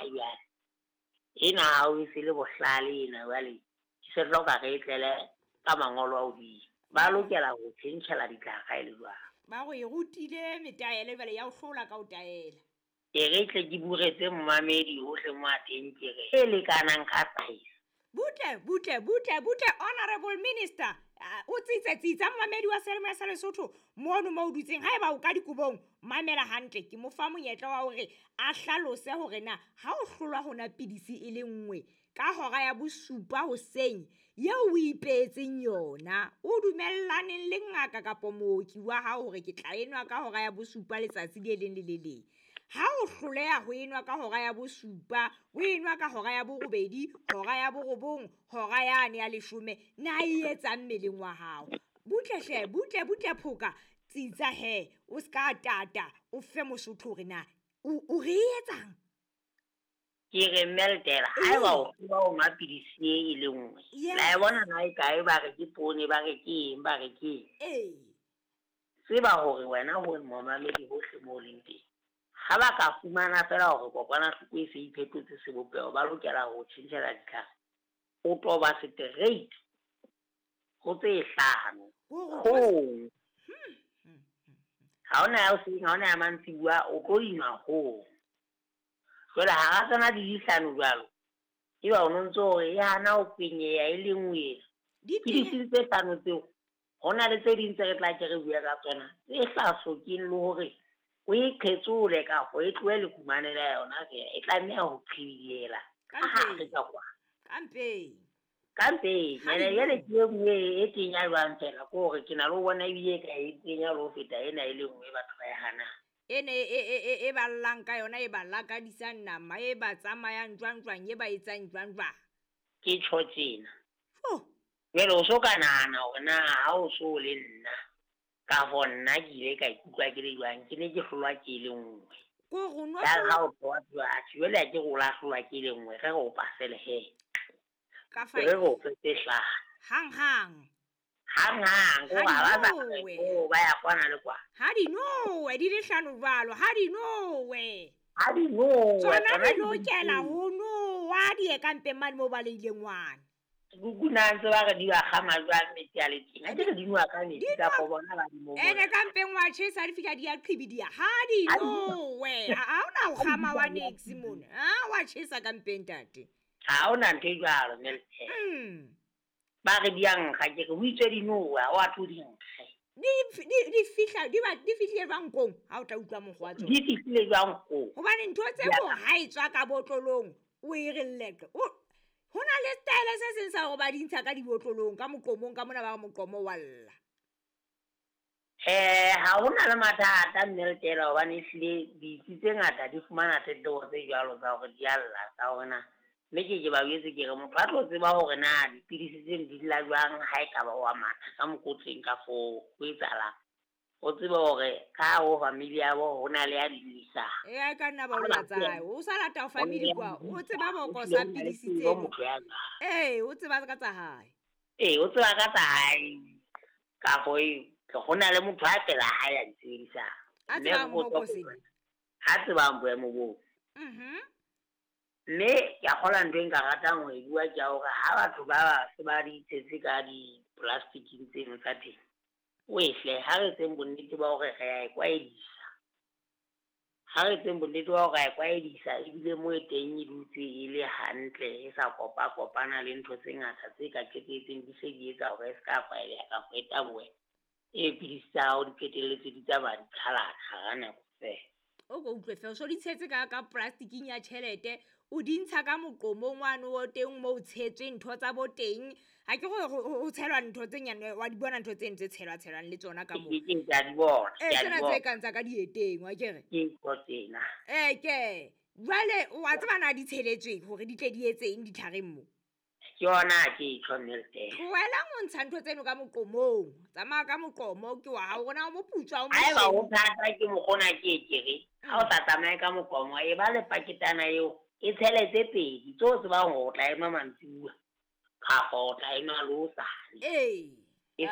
Jwale ena ha o e se le bohlale ena, jwale ke se hloka re e tlele ka mangolo a hodimo. Ba lokela ho tjhentjhela ditlhare ha e le jwalo. Ba go e rutile metaele jwale ya o hlola ka o taela. Ke re tle ke buretse momamedi hohle mo a teng, ke re e lekanang ka size. Butle, butle, butle, butle, honorable minister. O tsitse tsitsa momamedi wa Seyalemoya sa Lesotho mono mo o dutseng. Haeba o ka dikobong, mamela hantle. Ke mo fa monyetla wa hore a hlalose hore na ha o hlolwa hona pidisi e le nngwe ka hora ya bosupa hoseng eo o ipeetseng yona, o dumellaneng le ngaka kapa mooki wa hao hore ke tla enwa ka hora ya bosupa letsatsi le leng le le leng. Ha o hloleha ho enwa ka hora ya bosupa, o enwa ka hora ya borobedi, hora ya borobong, hora yane ya leshome, na e etsang mmeleng wa hao? Butle hle, butle, butle phoka, tsitsa he, o ska tata, o fe Mosotho hore na o re etsang? Ke re mmeltela, haeba o tseba o nwa pidisi e le nngwe. La e bona na e kae, ba re ke poone, ba re ke eng, ba re ke eng. Tseba hore wena ho momamedi hohle moo o leng teng. Ha ba ka fumana fela hore kokwanahloko e se iphetotse sebopeho, ba lokela ho tjhentjhela ditlhare. O toba straight ho tse hlano. Hong. Ha hona ya hoseng, ha hona ya mantsibuya, o tlo dinwa hong. Jwale hara tsona di le hlano jwalo, eba o no ntso hore e hana ho kwenyeha e le nngwe ena. Ke dipidisi tse hlano tseo, ho na le tse ding tse re tla ke re bue ka tsona, tse sa hlokeng le hore o e qhetsole kapa e tlohe lekumane la yona feela, e tlameha ho qhibidiela ka hare ka kwa. Ka mpeng. Ka mpeng. Ene jwale ke e nngwe e kenya jwang fela, ke hore ke na le ho bona ebile e ka e kenya le ho feta ena e le nngwe batho ba e hanang. Ene e ballang ka yona, e ba lakadisang nama, e ba tsamayang jwang jwang, e ba etsang jwang jwang. Ke tjho tjena. Oh. Jwale o so ka nahana hore na ha o so le nna, ka ho nna ke ile ka ikutlwa ke le jwang, ke ne ke hlolwa ke le nngwe. Ko re o no Ya hlolwa ha o tloha tloha, atjhe, jwale ha ke re o la hlolwa ke le nngwe, re re o pasele he. Ka Re re five. o fe tse hlano. Hang, hang. Hang, hang, ko Ha ha ba sa di nowe. ko ba ya kwana le kwana. Ha di nowe, di le hlano jwalo, ha di nowe. Ha di nowe, Tsona tsona di di lokela nowe. ho nowa, di ye ka mpeng mane moo ba leileng ngwana. Kuku na ntse ba re di ba kgama jwang metsi a le teng? Ha ke re di nowa ka metsi Di kapa nowa. bona ba di mo Ene bona. ka mpeng wa tjhesa, di fihla di a qhibidiya. Ha di Ha di nowe. Ha hona ho kgama wa niks mona. Ha wa tjhesa ka mpeng, ntate. Ha hona ntho e jwalo, Meltem. Ba re di a nkga, ke re ho itswe di nowe, ha wa tlo di nkge. Di fihla, di ba, di fihlile jwang kong? Ha o tla utlwa mokgwa wa tsona. Di fihlile jwang kong? Hobane ntho tse Di a mo ha e tswa ka botlolong, o e re leqe. O, ho na le style se seng sa hore ba di ntsha ka dibotlolong, ka moqomong, ka mona ba re moqomo wa lla. Ha hona le mathata Mmeltela, hobane ehlile ditsi tse ngata di fumana tletlebo tse jwalo tsa hore di a lla, tsa hore na. Mme ke ke ba jwetse ke re motho a tlo tseba hore na dipidisi tseno di lla jwang ha e ka ba wa matha ka mokotleng ka foo, ho etsahalang. O tsebe hore ka hare ho family ya bo ho na le ya di llisang. E, a ka nna ba o Ha lla ba tsa hae. O sa lata ho family kwa, o tseba Ho boko tlile sa ho na le pidisi tsebo tseno. motho ya jwang. Ee, o tseba ka tsa hae. Ee, o tseba ka tsa hae. Ka ho e, ho na le motho a pela hae a di sebedisang. A Mme tsebang re botsa boko hore sena. A tsebang boemo boo. Mme ke a kgolwa ntho e nka ratang ho e bua ke ya hore ha batho ba ba se ba di tshetse ka di-plastic-ing tseno tsa teng, wehle, ha re etseng bonnete ba hore re a e kwaedisa. Ha re etseng bonnete ba hore re a e kwaedisa, ebile moo e teng e dutse e le hantle, e sa kopa-kopana le ntho tse ngata tse ka qetelletseng di se di etsa hore e se ka kwaeleha kapa e tabohe. E pidisi tsa hao di qetelletse di tsamaya di qhalana hara nako feela. O ko utlwe feela, o so di tshetse ka plasticing ya tjhelete, o di ntsha ka moqomong wane o teng moo o tshetswe ntho tsa bo teng. Ha ke re ho tshelwa ntho tse nyane, wa di bona ntho tseno tse tshelwa-tshelwang le tsona ka moo. Ke, ke, ke a di bona, Ee, ke a di tsena tse bona. kang tsa ka dieteng, wa ke re? Ke ntho tsena. Ee, ke. Jwale, wa tseba na di tsheletsweng hore di tle di etseng ditlhareng moo? Ke yona ke e tjho Mmeltele. Tlohelang ho ntsha ntho tseno ka moqomong. Tsamaya ka moqomo ke wa hao, rona o moputswa, o Haeba mosweu. ho thata ke mokgona ke e kere, ha o sa tsamaye ka moqomo, e ba le paketana eo, e tshele tse pedi, tseo o tsebang hore o tla enwa mantsibuya, kapa o tla enwa le hosane. Ee.